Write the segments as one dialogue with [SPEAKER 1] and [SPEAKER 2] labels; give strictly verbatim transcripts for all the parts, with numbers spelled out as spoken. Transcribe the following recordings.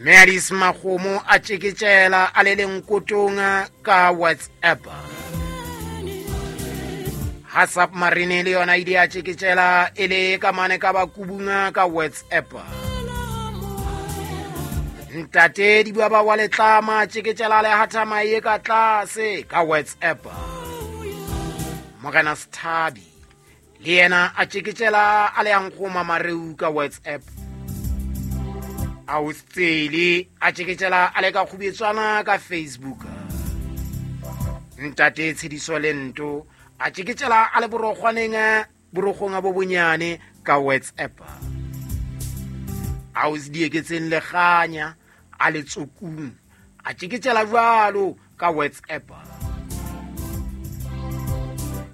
[SPEAKER 1] Mme Alice Makgomo a tjeketjela a le lenkotong ka WhatsApp. WhatsApp Marine le yona ile ya tjeketjela e le ka mane ka bakubunga ka WhatsApp. Ntate Dibaba wa Letlama tjeketjela le hathama ye ka tlase ka WhatsApp. Morena Sthabi le yena a tjeketjela a le yang mareu ka WhatsApp. Austseli a tjeketjela a le ka kgubetswana ka Facebook. Ntate Tshediso Lento a tjeketjela a le borokgwaneng borokgong bo bonyane ka WhatsApp. Ausdieketseng le kganya a le tsokung a tjeketjela jwalo ka WhatsApp.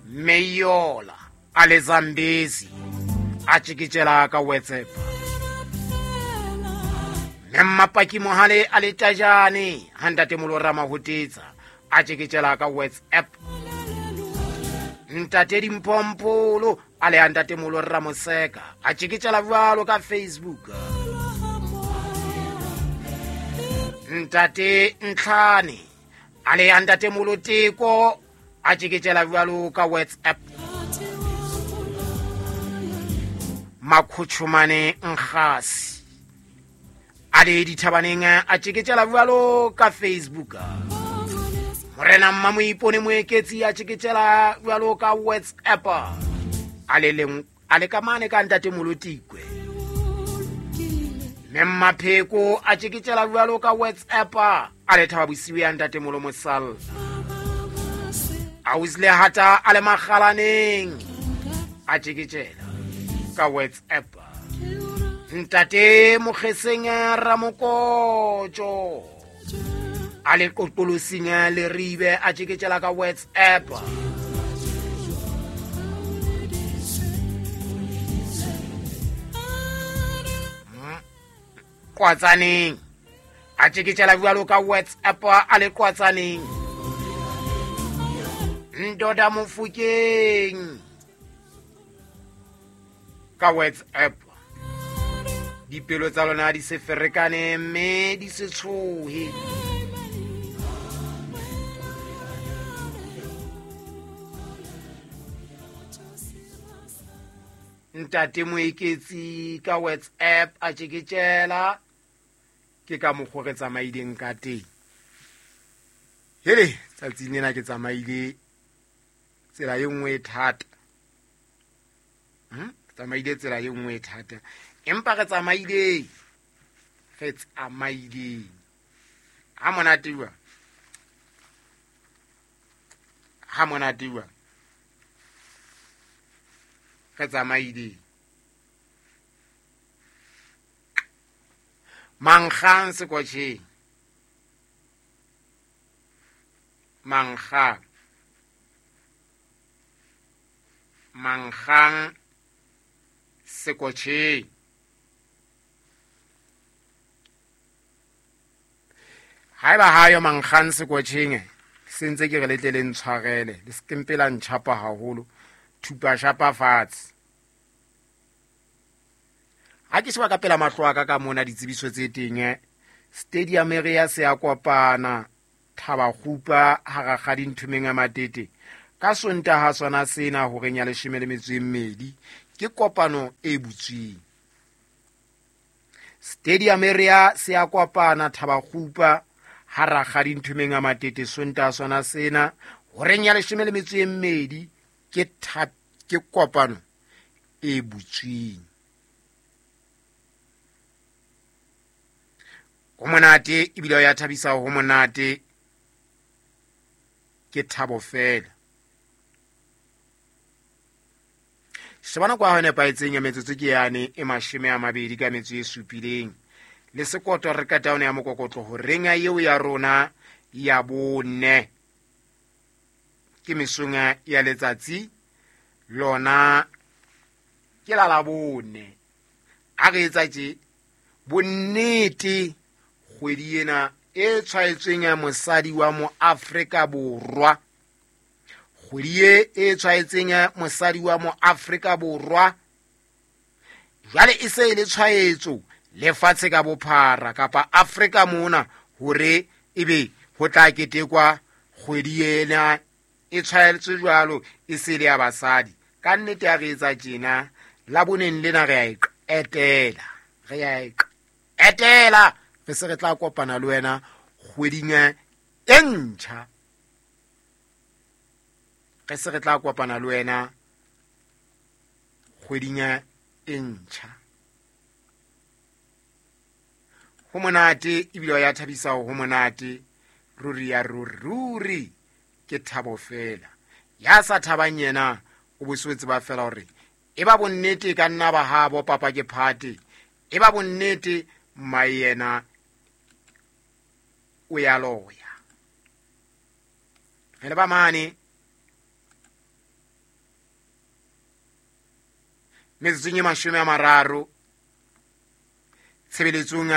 [SPEAKER 1] Meyola a le Zambezi a tjeketjela ka WhatsApp. Mmapaki Mohale a le Tajane ha ntate Molora Mahotetsa a tjeketjela ka WhatsApp. Ntate Dimphompolo a le ntate Molora Moseka a tjeketjela jwalo ka Facebook. Ntate Ntlhane a le ntate Moloteko a tjeketjela jwalo ka WhatsApp. Makhutshumane Nkgasi a le dithabaneng a tjeketjela jwalo ka Facebook. Morena Mmamoipone Moeketsi a tjeketjela jwalo ka WhatsApp. A le leng a le ka mane ka ntate Molotikwe. Mmapheko a tjeketjela jwalo ka WhatsApp. A le thaba bosiu ya ntate Molo Mosalla. A uzle hata a le makgalaneng a tjeketjela ka WhatsApp. Ntate Mokgeseng Ramokotjo a le qoqolosing le ribe a tjeketjela ka WhatsApp. Kwatsaneng a tjeketjela jwalo ka WhatsApp a le Kwatsaneng. Ndoda Mofokeng ka WhatsApp. Dipelo tsa lona di se ferekane mme di se tshohe. Ntate Moeketsi ka WhatsApp a tjeketjela. Ke ka mokgwa re tsamaileng ka teng. Hele, tsatsing lena ke tsamaile tsela e nngwe e thata. Hm? Tsamaile tsela e nngwe e thata. Empa re tsamaile, re tsamaile. Ha monate jwang? Ha monate jwang? Re tsamaile. Mankgang sekotjheng. Mankgang. Mankgang sekotjheng. Haeba hayo mankgang sekotjheng, se ntse ke re letle le ntshwarele, le se ke mpe la ntjhapa haholo, thupa shapa fatshe. Ha ke sheba ka pela mahlo a ka ka mona ditsebiso tse teng, stadium area se ya kopana Thabakgupa ha Rakgadi Nthumeng a Matete ka Sontaha sona sena horeng ya leshome le metso e mmedi ke kopano e butsweng. Stadium area se ya kopana Thabakgupa ha Rakgadi Nthumeng a Matete Sontaha sona sena horeng ya leshome le metso e mmedi ke ke kopano e butsweng. Ho monate ebile ya thabisa, ho monate ke thabo fela. Shebana kwa ho nepahetseng ya metsotso ke yane e mashome a mabedi ka metso e supileng le sekoto re ka taone ya mokokotlo horeng ya eo ya rona ya bone ke mesong ya letsatsi lona ke la la bone. A re etsa tje bonnete kgwedi ena e tshwaetsweng ya mosadi wa mo Afrika Borwa, kgwedi e e tshwaetseng ya mosadi wa mo Afrika Borwa jwale e se e le tshwaetso Lefatshe ka bophara kapa Afrika mona hore ebe ho tla ketekwa kgwedi ena e tshwaetswe jwalo e se le ya basadi. Ka nnete ya re etsa tjena la boneng lena re a e qetela, re a e qetela, re se re tla kopana le wena kgweding e ntjha, re se re tla kopana le wena kgweding e ntjha. Ho monate ebile ya thabisa, ho monate ruri ya ruri, ke thabo fela. Ya sa thabang yena o boswetse ba fela hore e ba bonnete ka nna ba habo papa ke phate, e ba bonnete mma yena o ya loya. Re le ba mane metsotsong e mashome a mararo tshebeletsong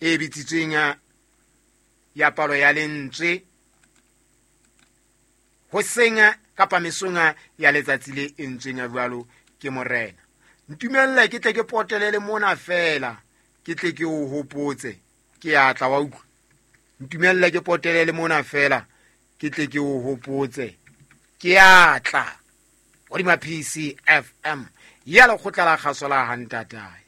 [SPEAKER 1] e bitsitsweng ya palo ya lentswe hoseng kapa mesong ya letsatsi le entsweng jwalo ke morena. Ntumelle ke tle ke potelele mona fela, ke tle ke o hopotse, ke a tla wa utlwa. Ntumelle ke potelele mona fela, ke tle ke o hopotse, ke a tla. Hodima P C F M ya lekgotla la kgaso la Hantatae.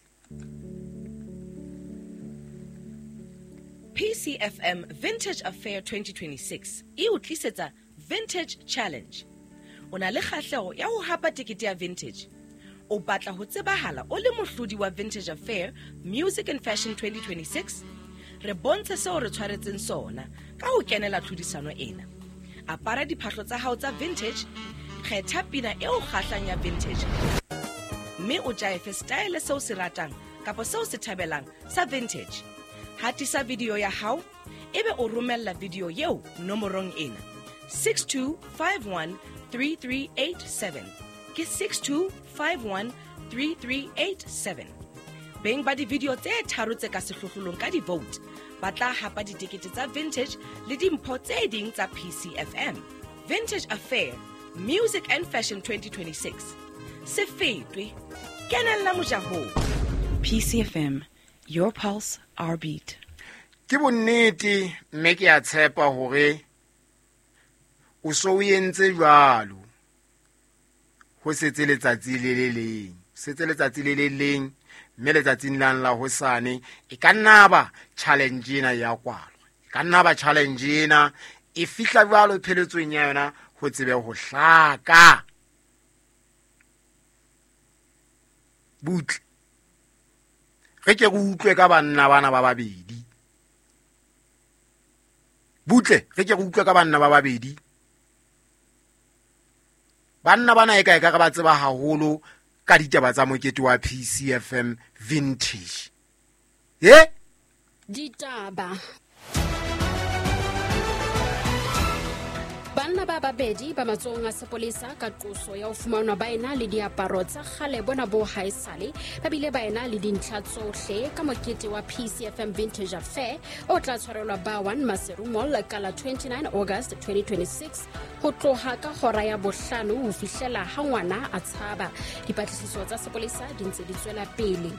[SPEAKER 2] P C F M Vintage Affair twenty twenty-six e o tlisetsa Vintage Challenge. O na le kgahleho ya ho hapa tekete ya vintage. O batla ho tsebahala o le mohlodi wa Vintage Affair Music and Fashion twenty twenty-six? Re bontshe seo re tshwaretseng sona ka ho kenela tlhodisano ena. Apara diphahlo tsa hao tsa vintage, kgetha pina eo kgahlang ya vintage, mme o jaefe style seo se ratang kapa seo se thabelang sa vintage. Hatisa video ya hao ebe o romella video eo nomorong ena six two five one three three eight seven. Ke six two five one three three eight seven. Beng ba di-video tse tharo tse ka sehlohlolong ka di-vote ba tla hapa ditekete tsa vintage le dimpho tse ding tsa P C F M. Vintage Affair Music and Fashion twenty twenty-six. Se fetwe, kenella mojahong.
[SPEAKER 3] P C F M, your pulse, our beat.
[SPEAKER 1] Ke bonnete mme ke a tshepa hore o so o entse jwalo. Ho setse letsatsi le le leng, setse letsatsi le le leng, mme letsatsing lang la hosane e ka nna ba challenge ena ya kwalwa, e ka nna ba challenge ena e fihla jwalo pheletsong ya yona ho tsebe ho hlaka. Butle re ke re utlwe ka banna bana ba babedi, butle re ke re utlwe ka banna ba babedi. Banna bana e ka e ka re ba tseba haholo ka ditaba tsa mokete wa P C F M Vintage. Eh?
[SPEAKER 4] Ditaba. Banna ba babedi ba matsohong a sepolesa ka qoso ya ho fumanwa ba ena le diaparo tsa kgale bona bo haesale, ba bile ba ena le dintlha tsohle ka mokete wa P C F M Vintage Affair o tla tshwarelwa ba one Maseru Mall ka la twenty-nine August twenty twenty-six ho tloha ka hora ya bohlano ho fihlela ha ngwana a tshaba. Dipatlisiso tsa sepolesa di ntse di tswela pele.